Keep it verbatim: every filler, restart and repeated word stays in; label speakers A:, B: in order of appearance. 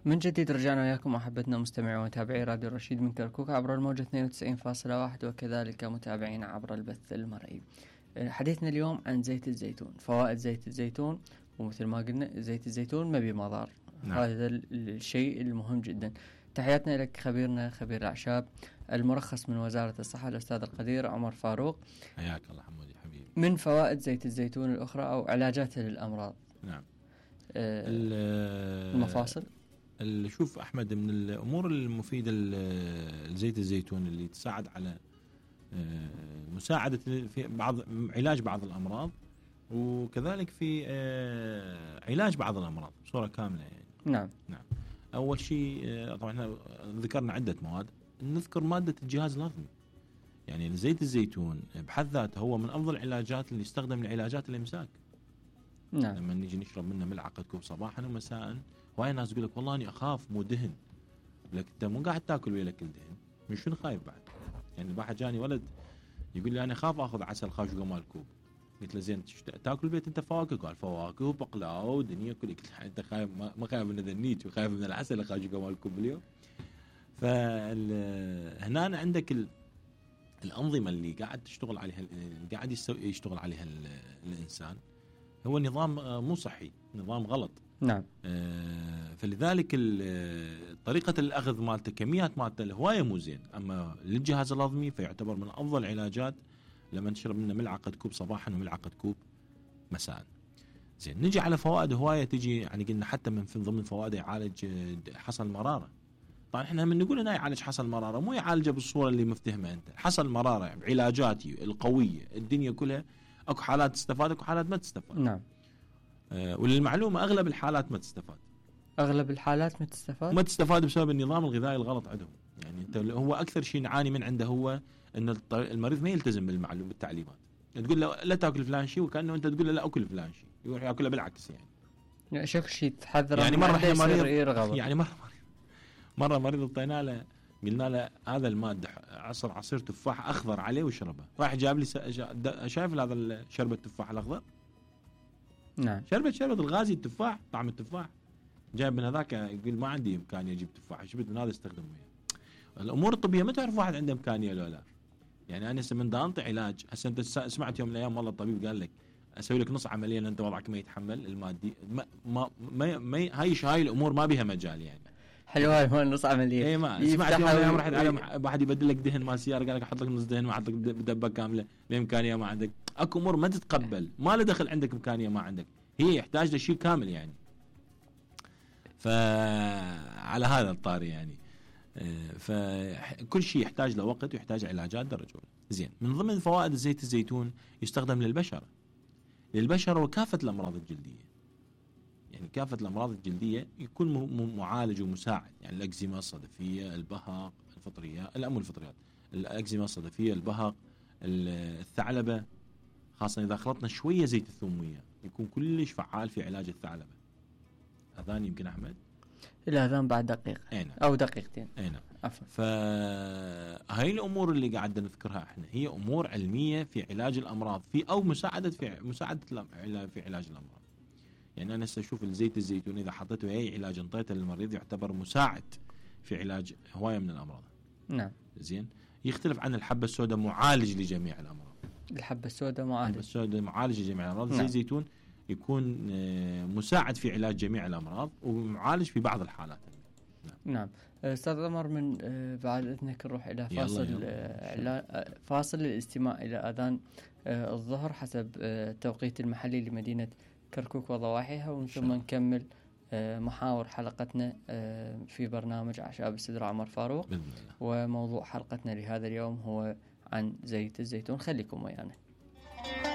A: من جديد رجعنا وياكم أحبتنا مستمعي ومتابعي راديو الرشيد من كركوك عبر الموجة اثنين وتسعين فاصلة واحد وكذلك متابعين عبر البث المرئي. حديثنا اليوم عن زيت الزيتون، فوائد زيت الزيتون، ومثل ما قلنا زيت الزيتون ما بمضار. نعم. هذا الشيء المهم جدا. تحياتنا لك خبيرنا خبير الأعشاب المرخص من وزارة الصحة الأستاذ القدير عمر فاروق.
B: حياك الله حمودي حبيبي.
A: من فوائد زيت الزيتون الأخرى أو علاجاتها للأمراض.
B: نعم.
A: آه المفاصل.
B: اللي شوف أحمد، من الأمور المفيدة لزيت الزيتون اللي تساعد على مساعدة في بعض علاج بعض الأمراض، وكذلك في علاج بعض الأمراض بصورة كاملة يعني.
A: نعم
B: نعم. أول شيء طبعا احنا ذكرنا عدة مواد، نذكر مادة الجهاز الهضمي. يعني زيت الزيتون بحد ذاته هو من أفضل العلاجات اللي يستخدم لعلاجات الإمساك.
A: نعم.
B: لما نيجي نشرب منه ملعقة كوب صباحا ومساء، وهاي ناس يقول لك والله أنا أخاف مو دهن، لك أنت مو قاعد تاكل وياك الدهن، من شنو خايف بعد؟ يعني الواحد جاني ولد يقول لي أنا أخاف أخذ عسل خاشوقة مال كوب. قلت له زين تاكل بيت أنت فواكه؟ قال فواكه وبقلاوة ودنيا كل. قلت له أنت خايف ما خايف من ذنيك وخايف من العسل خاشوقة مال كوب اليوم؟ فهنا عندك ال... الأنظمة اللي قاعد تشتغل عليها اللي قاعد يشتغل عليها الإنسان هو نظام مو صحي، نظام غلط.
A: نعم.
B: آه فلذلك طريقة الأخذ مالته كميات مالته هواية مو زين. أما للجهاز الهضمي فيعتبر من أفضل العلاجات لما تشرب منه ملعقة كوب صباحا وملعقة كوب مساء. زين، نجي على فوائد هواية تجي، يعني قلنا حتى من في ضمن فوائده يعالج حصى المرارة. طبعا احنا من نقول انه يعالج حصى المرارة مو يعالجه بالصورة اللي مفتهمة انت. حصى المرارة بعلاجاتي القوية الدنيا كلها اكو حالات تستفاد اكو حالات ما تستفاد.
A: نعم.
B: آه وللمعلومة اغلب الحالات ما تستفاد.
A: اغلب الحالات ما تستفاد
B: ما تستفاد بسبب النظام الغذائي الغلط عندهم. يعني انت هو اكثر شيء نعاني من عنده هو ان المريض ما يلتزم بالمعلومات بالتعليمات. تقول له لا تاكل فلان شيء وكانه انت تقول له لا اكل فلان شيء، يروح ياكله بالعكس. يعني
A: شوف شيء تحذر
B: يعني مره احنا مريض يعني مره مره مريض اعطينا له قلنا له هذا الماده عصر عصير تفاح اخضر عليه وشربه، راح جاب لي شايف هذا شربة التفاح الاخضر.
A: نعم.
B: شربت شربت الغازي التفاح طعم التفاح، جايب من هذاك يقول ما عندي امكانيه اجيب تفاح، جبت من هذا استخدمه. يعني الامور الطبيه ما تعرف واحد عنده امكانيه ولا لا. يعني انا هسه من دا انطي علاج، هسه انت سمعت يوم من الايام والله الطبيب قال لك اسوي لك نص عمليه لان انت وضعك ما يتحمل المادي، ما ما, ما, ما هاي هاي الامور ما بها مجال. يعني
A: حلوه هاي نص عمليه.
B: اي ما سمعت يوم من الايام رحت على واحد يبدل لك دهن مال سياره قال لك احط لك نص دهن واحط لك دبه كامله، الامكانيه ما عندك. اكو امور ما تتقبل، ما له دخل عندك امكانيه ما عندك، هي يحتاج لشيء كامل. يعني فعلى هذا الطاري يعني فكل شيء يحتاج له وقت ويحتاج علاجات درجة أولى. زين، من ضمن فوائد زيت الزيتون يستخدم للبشرة للبشرة وكافة الأمراض الجلدية. يعني كافة الأمراض الجلدية يكون معالج ومساعد. يعني الأكزيما الصدفية، البهق، الفطريات، لا مو الفطريات، الأكزيما الصدفية، البهق، الثعلبة، خاصة إذا خلطنا شوية زيت الثومية يكون كلش فعال في علاج الثعلبة. أذان يمكن أحمد
A: الأذان بعد دقيقة
B: أينا.
A: أو دقيقتين.
B: أينا. فهاي الأمور اللي قاعد نذكرها احنا هي أمور علمية في علاج الأمراض في أو مساعدة في مساعدة في علاج الأمراض. يعني أنا أشوف الزيت الزيتون إذا حطيته أي علاج انطيته للمريض يعتبر مساعد في علاج هواية من الأمراض.
A: نعم.
B: زين، يختلف عن الحبة السوداء معالج لجميع الأمراض.
A: الحبة السوداء معالج.
B: الحبة السوداء معالج لجميع الأمراض.
A: نعم.
B: زيت الزيتون يكون مساعد في علاج جميع الأمراض ومعالج في بعض الحالات.
A: نعم. نعم. أستاذ عمر، من بعد إذنك نروح إلى فاصل يلا يلا. فاصل للاستماع إلى أذان الظهر حسب التوقيت المحلي لمدينة كركوك وضواحيها، ومن ثم نكمل محاور حلقتنا في برنامج أعشاب السدرة عمر فاروق. وموضوع حلقتنا لهذا اليوم هو عن زيت الزيتون. خليكم ويانا.